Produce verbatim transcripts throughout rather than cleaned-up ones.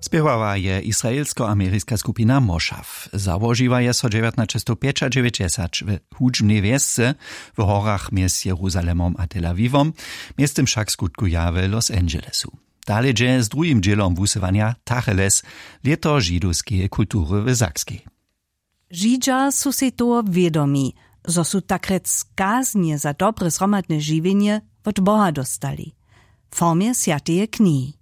Spěwała je israelsko-ameriska skupina Moshav. Załožiła je so dźewjatnaćestowpjećadźewjećdźesać w hudźbnej wjesce w horach mjez Jeruzalemom a Tel Awiwom, mjeztym wšak skutkuja w Los Angelesu. Dale dźe z druhim dźělom wusyłanja Tacheles, lěto židowskeje kultury w Sakskej. Židźa su sej toho wědomi, zo su takrjec kaznje za dobre zhromadne žiwjenje wot Boha dóstali w formje swjateje knihi.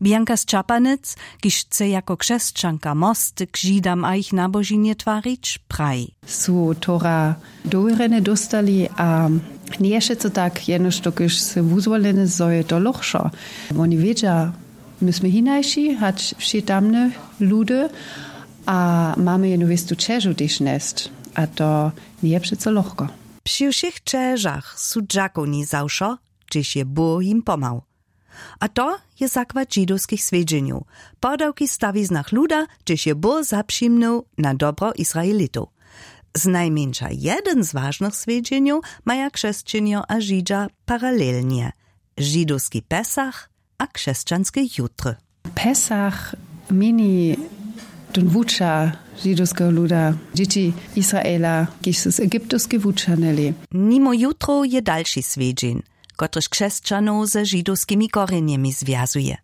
Bianka Sćapanec, kiž chce jako křesćanka mosty k Židam a jich nabožinje twarić, praji: Su tora dowěrjene dóstali a njeje wšetco tak, jenož dokelž su wuzwolene, zo je to lochšo. Woni wědźa, my smy hinaši hač wšě tamne ludy a mamy jednu wěstu ćežu tež njesć. A to njeje přeco lochko. Při wšěch ćežach su dźakowni za wšo, hdźež je Bóh jim pomhał. A to je zakład židowskich swjedźenjow. Podawki w stawiznach luda, hdźež je Bóh zapřimnył na dobro Izraelitow. Znajmjeńša jedyn z wažnych swjedźenjow maja křesćenjo a židźa paralelnje: židowski Pesach a křesćanske jutry. Pesach měni tón wuča židowskeho luda, dźěći Israela, kiž su z Egyptowskej wućahnyli. Nimo jutrow je dalši swjedźeń, kotryž křesćanow ze židowskimi korjenjemi zwjazuje.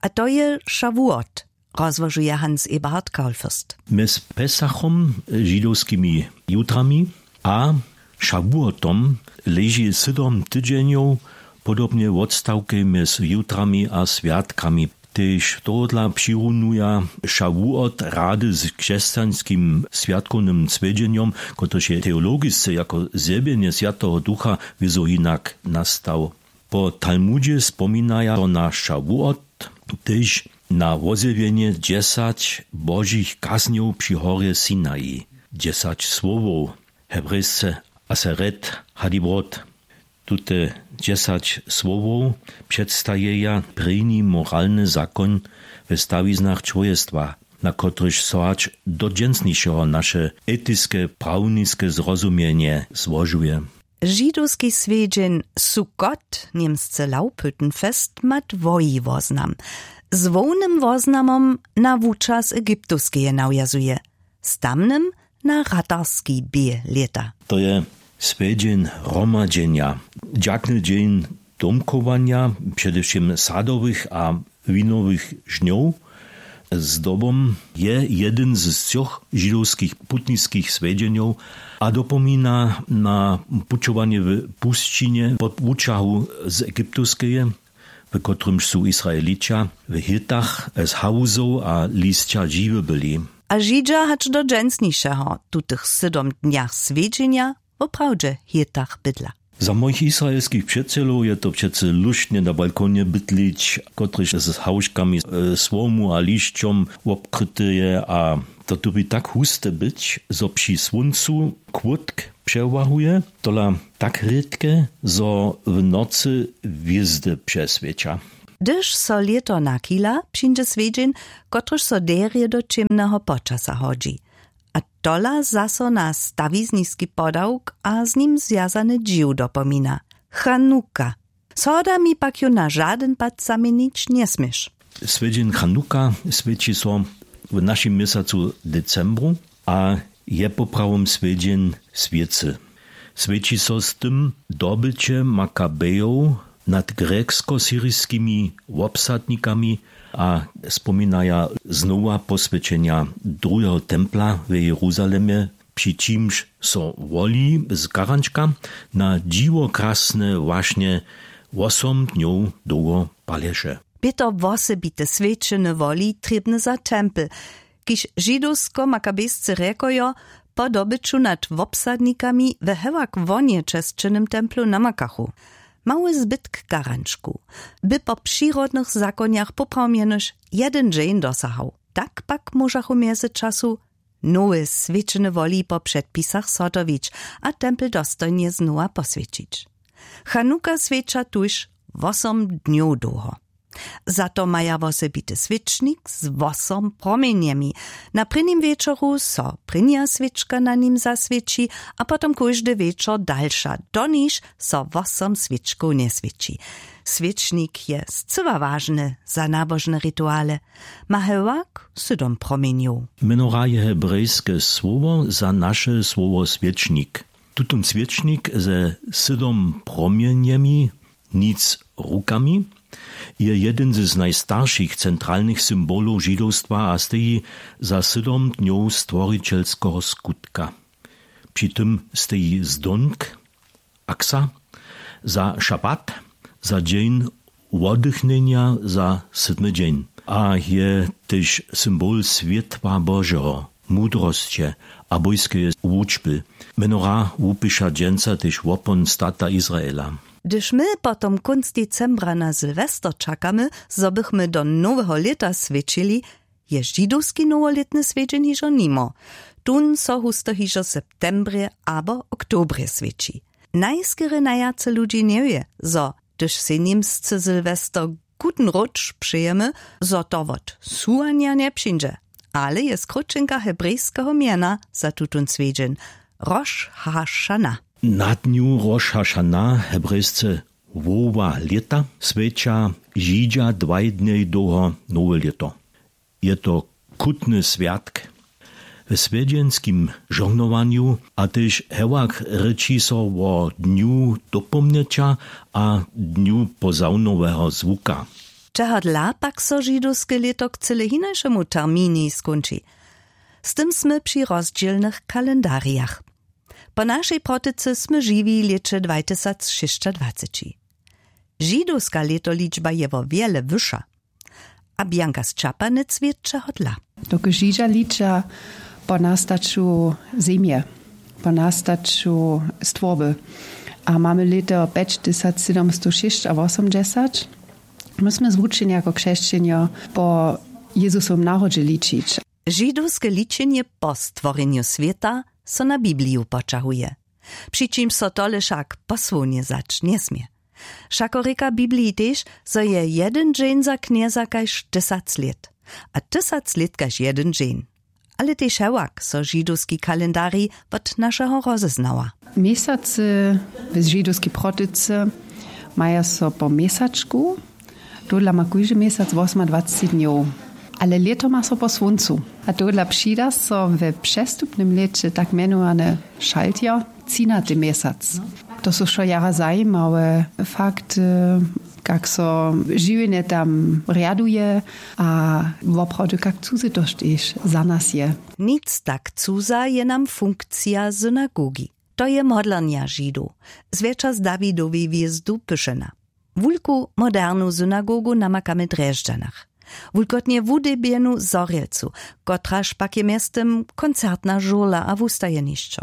A to je Šawuot, rozłožuje Hans Eberhard Kaulfürst. Mjez Pesachom, židowskimi jutrami, a Šawuotom leži sydom tydźenjow, podobnje wotstawkej mjez jutrami a swjatkami. Tež tohodla přirunuja Šawuot rady z křesćanskim swjatkownym swjedźenjom, kotryž je teologisce jako zjewjenje Swjateho Ducha wězo hinak nastał. Po Talmudźe spominaja so na Šawuot tež na wozjewjenje dźesać božich kaznjow při horje Sinai, dźesać słowow, hebrejsce Aseret Hadibrot. Tute dźesać słowow předstajeja prěni moralny zakoń we stawiznach čłowjestwa, na kotryž so hač do dźensnišeho naše etiske prawniske zrozumjenje złožuje. Židowski swjedźeń Sukkot, němsce Laubhüttenfest, ma dwoji woznam. Z hłownym woznamom na wučas Egyptowskeje nawjazuje, z tamnym na ratarski bě lěta. To je swjedźeń hromadźenja, dźakny dźeń domchowanja, předewšěm sadowych a winowych žnjow. Zdobom je jedyn z třoch židowskich putniskich swjedźenjow a dopomina na pućowanje w pusćinje po wučahu z Egyptowskeje, w kotrymž su Izraelića w hytach z hałzow a lisća žiwy byli. A Židźa hač do dźensnišeho w tutych sydom dnjach swjedźenja woprawdźe w hytach bydla. Za mojich izraelskich přećelow je to přecy luštnje na balkonje bydlić, kotryž z hałžkami, e, słomu a lisćom wobkryty je, a to dyrbi tak huste być, zo při słóncu kłódk přewahuje, tola tak rědke, zo w nocy hwězdy přeswěća. Hdyž so lěto nachila, přińdźe swjedźeń, kotryž so derje do ćěmneho počasa hodźi. A tola zaso na stawizniski podawk a z nim zwjazany dźiw dopomina. Chanuka. Z Hodami pak ju na žadyn pad zaměnić njesměš. Swjedźeń Chanuka swěći so w našim měsacu decembru a je poprawom swjedźeń swěcy. Swěći so z tym dobyće Makabejow nad grjeksko-siriskimi wobsadnikami a spominaja znowa poswjećenja druheho templa w Jeruzalemje, při čimž so woli z karančka na dźiwokrasne wašnje wosom dnjow dołho palješe. Bě to wosebite swjećene woli trěbne za tempel, kiž židowsko-makabejscy rjekojo po dobyću nad wobsadnikami we hewak wonje česćenym templu namakachu. Mały zbytk karančku by po přirodnych zakonjach poprawom jenož jedyn dźeń dosahał. Tak pak móžachu w mjezyczasu nowe swjećene woli po předpisach zhotowić a tempel dostojnje znowa poswjećić. Chanuka swjeća tuž wosom dnjow dołho. Za to maja wosebity swěčnik z wosom promjenjemi. Na prěnim wječoru so prěnja swěčka na nim zaswěći a potom kóždy wječor dalša, doniž so wosom swěčkow njeswěći. Swěčnik je scyła wažny za nabožne rituale. Ma hewak sydom promjenjow. Mjenora je hebrejske słowo za naše słowo swěčnik. Tutón swěčnik ze sydom promjenjemi, nic rukami, je jedyn z najstaršich centralnych symbolow židowstwa a steji za sydom dnjow stworićelskeho skutka. Při tym steji zdónk, aksa, za šabat, za dźeń woddychnjenja, za sydmy dźeń, a je tež symbol swětła Božeho, mudrosće a bójskeje wučby. Mjenora wupiša dźensa tež wopon stata Izraela. Hdyž my potom kónc decembra na sylwester čakamy, zo bychmy do noweho lěta swěćili, je židowski nowolětny swjedźeń hižo nimo. Tón so husto hižo w septembrje abo oktobrje swěći. Najskerje najwjace ludźi njewě, zo hdyž sej němsce sylwester guten rutsch přejemy, zo to wot suwanja njepřińdźe, ale je skróćenka hebrejskeho mjena za tutón swjedźeń: Roš Hašana. Na dnju Roš Hašana, hebrejsce hłowa lěta, swjeća židźa dwaj dnjej dołho nowe lěto. Je to chutny swjatk we swjedźenskim žohnowanju a tež hewak rěči so wo dnju dopomnjeća a dnju pozawnoweho zwuka. Čehodla pak so židowske lěto k cyle hinašemu terminjej skónči? Z tym smy při rozdźělnych kalendarjach. Po našej protyce smy žiwi w lěće dwajtysacšěsćadwaceći. Židowska lětoličba je wo wjele wyša. A bjanka z čapanec wět čehodla? Dokelž židźa liča po nastaću zemje, po nastaću stworby, a mamy lěto pjećtysacsydomstow šěsćawosomdźesać, my smy zwučeni jako křesćenjo po jezusowym narodźe ličić. Židowske ličenje po stworjenju swěta so na bibliju poćahuje, při čimž so tole wšak posłownje wzać njesmě. Wšako rěka w bibliji tež, zo je jedyn dźeń za knjeza kaž tysac lět, a tysac lět kaž jedyn dźeń. Ale tež hewak so židowski kalendarij wot našeho rozeznała. Měsacy w židowskej protycy maja so po měsačku. Tohodla ma kóždy měsac wosomadwaceći dnjow, ale lěto ma so po słóncu. A tohodla přida so we přestupnym lěće tak mjenowane šaltjo, třinaty měsac. To su wšo jara zajimawe fakty, kak so žiwjenje tam rjaduje a woprawdźe kak cuze to tež za nas je. Nic tak cuza je nam funkcija synagogi. To je modlarnja Židow, zwjetša z Dawidowej hwězdu pyšena. Wulku modernu synagogu namakamy w Drježdźanach, wulkotnje wudebjenu Zhorjelcu, kotraž pak je mjeztym koncertna žurla a wustajenišćo.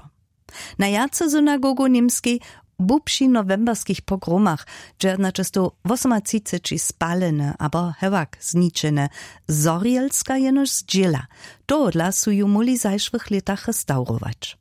Najwjace synagogow w Němskej bu při nowemberskich pogromach dźewjatnaćestow wosomatřiceći spalene abo hewak zničene, Zhorjelska jenož zdźěla. Tohodla su ju móhli w zašłych lětach restawrować.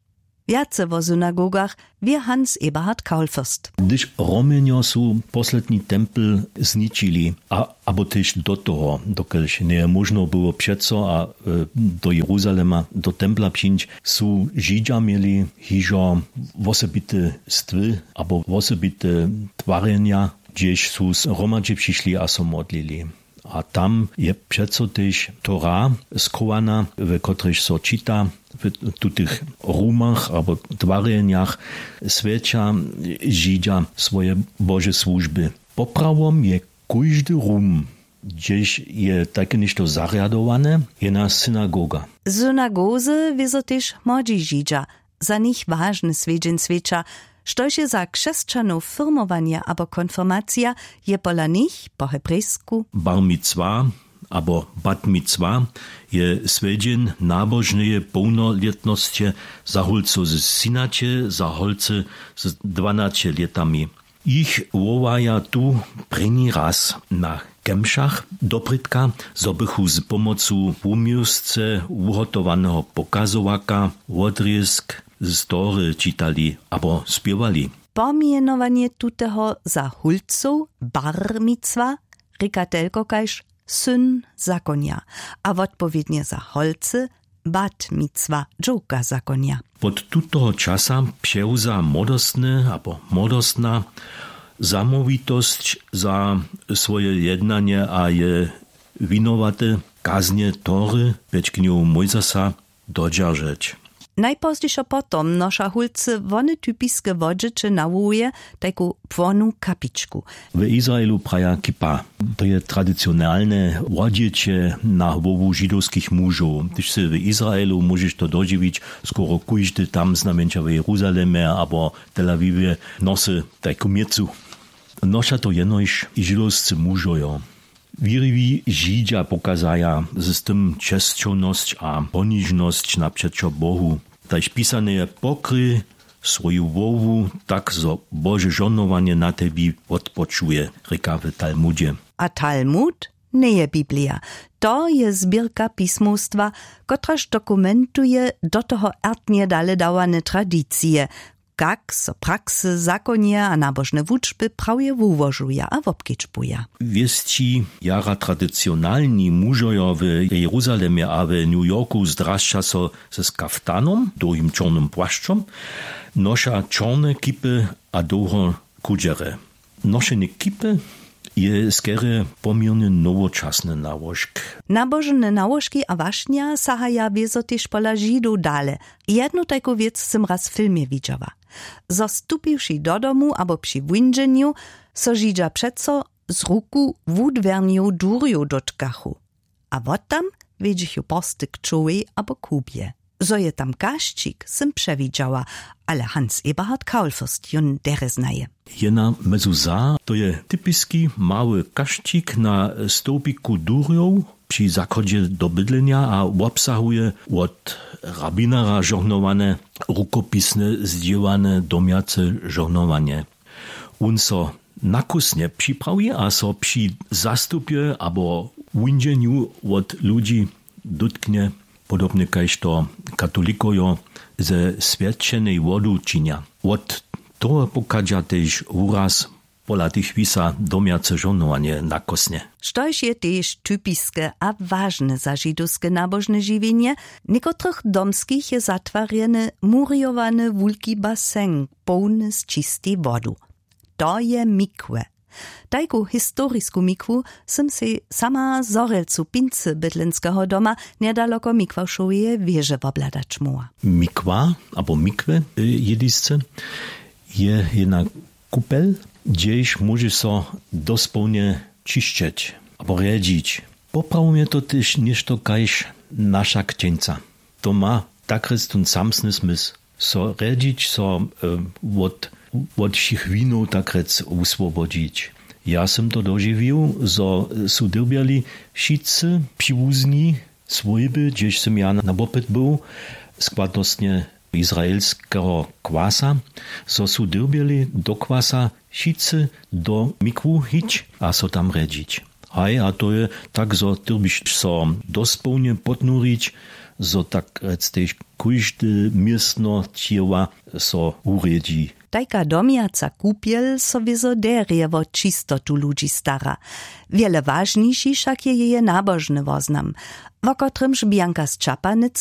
Wjace wo synagogach wě Hans Eberhard Kaulfürst. Hdyž Romjenjo su posledni tempel zničili, a abo tež do toho, dokelž njeje móžno było přeco a e, do Jeruzalema do templa přińć, su Židźa měli hižo wosebite stwy abo wosebite twarjenja, hdźež su zhromadźe přišli a so modlili. A tam je přeco tež Tora schowana, w kotrejž so čita: W tutych rumach abo twarjenjach swjeća Židźa swoje Bože słužby. Poprawom je kóždy rum, hdźež je tajke něšto zarjadowane, jena synagoga. Synagozy wězo tež młodźi Židźa, za nich wažny swjedźeń swjeća. Štož je za křesćanow firmowanje abo konfirmacija, je pola nich po hebrejsku bar micwa abo bat micwa, je swjedźeń nabožneje połnolětnosće za hólcow z třinaće, za holcy z dwanaće lětami. Jich wołaja tu prěni raz na kemšach doprědka, zo bychu z pomocu wuměłsce wuhotowaneho pokazowaka wodrězk z Tory čitali abo spěwali. Pomjenowanje tuteho za hólcow bar micwa rěka telko kaž syn zakonja a wotpowědnje za holcy bat micwa dźowka zakonja. Wot tutoho časa přewza młodostny abo młodostna Zamołwitosć za swoje jednanje a je winowaty kaznje tory pjećknjow mójzasa dodźeržeć. Najpozdźišo potom noša hólcy wone typiske wodźěće nawołuje, tajku płonu kapičku. W izraelu praja kipa. To je tradicionalne wodźěće na hłowu židowskich mužow. Hdyž sy w izraelu, móžeš to dodźiwić, skoro kóždy tam znajmjeńša w jeruzalemje abo tel awivje nosy tajku měcu. Noša to jenož židowscy mužojo. Wěriwi židźa pokazaja z tym česćownosć a ponižnosć napřećo bohu. Tajž pisane je, pokryj swoju hłowu, tak zo bože žohnowanje na tebi wotpočuje, rěka w talmudźe. A talmud njeje biblija. To je zběrka pismowstwa, kotraž dokumentuje do toho ertnje dale dawane tradicije, kak so praksy, zakonje a nabožne wučby prawje wułožuja a wobkedźbuja. Wěsći jara tradicionalni mužojo w jeruzalemje a w new yorku zdrasća so z kaftanom, dołhim čornym płašćom, noša čorne kipy a dołho kudźere. Nošenje kipy je skerje poměrnje nowočasny nałožk. Nabožne nałožki a wašnja sahaja wězo tež pola židow dale. Jednu tajku wěc sym raz w filmje widźała. Zo stupiwši do domu abo při windźenju, so židźa přeco z ruku wudwjernjow durjow dótkachu. A wottam wjedźechu porsty k čołej abo kubje. Zo je tam kašćik, sym přewidźała, ale hans eberhard kaulfürst jón derje znaje. Jena mezu za, to je typiski mały kašćik na stołpiku durjow při zachodźe do bydlenja a wobsahuje wot rabinara žohnowane rukopisne zdźěłane domjace žohnowanje. Wón so na kósnje připrawi a so při zastupje abo windźenju wot ludźi dótknje, podobnje kaž to katolikojo ze swjećenej wodu činja. Wot toho pochadźa tež wuraz pola tych wisa domjace žohnowanje na kósnje. Štož je tež typiske a wažne za židowske nabožne žiwjenje, někotrych domskich je zatwarjeny murjowany wulki baseng, połny z čistej wodu. To je mikwe. Tajku historisku mikwu sym sej sama w zhorjelcu pincy bydlenskeho doma njedaloko mikwawšoweje wěže wobhladać móhła. Mikwa abo mikwe, jědisce, je jedna kupel, hdźež móže so dospołnje ćišćeć abo rjedźić. Poprawom je to tež něšto kaž naša kćeńca. To ma takrjec tón samsny smysł, so rjedźić, so wot wot wšěch winow takrjec wuswobodźić. Ja sym to dožiwił, zo su dyrbjeli wšitcy přiwuzni swójby, hdźež sym ja na wopyt był, składnostnje izraelskeho kwasa, zo su dyrbjeli do kwasa wšitcy do mikwu hić a so tam rjedźić. Haj, a to je tak, zo dyrbiš so dospołnje podnurić, zo takrjec tež kóžde městno ćěła so wurjedźi. Tajka domjaca kupjel so wězo derje wo čistotu ludźi stara. Wjele wažniši wšak je jeje nabožny woznam, wo kotrymž bjanka z čapanec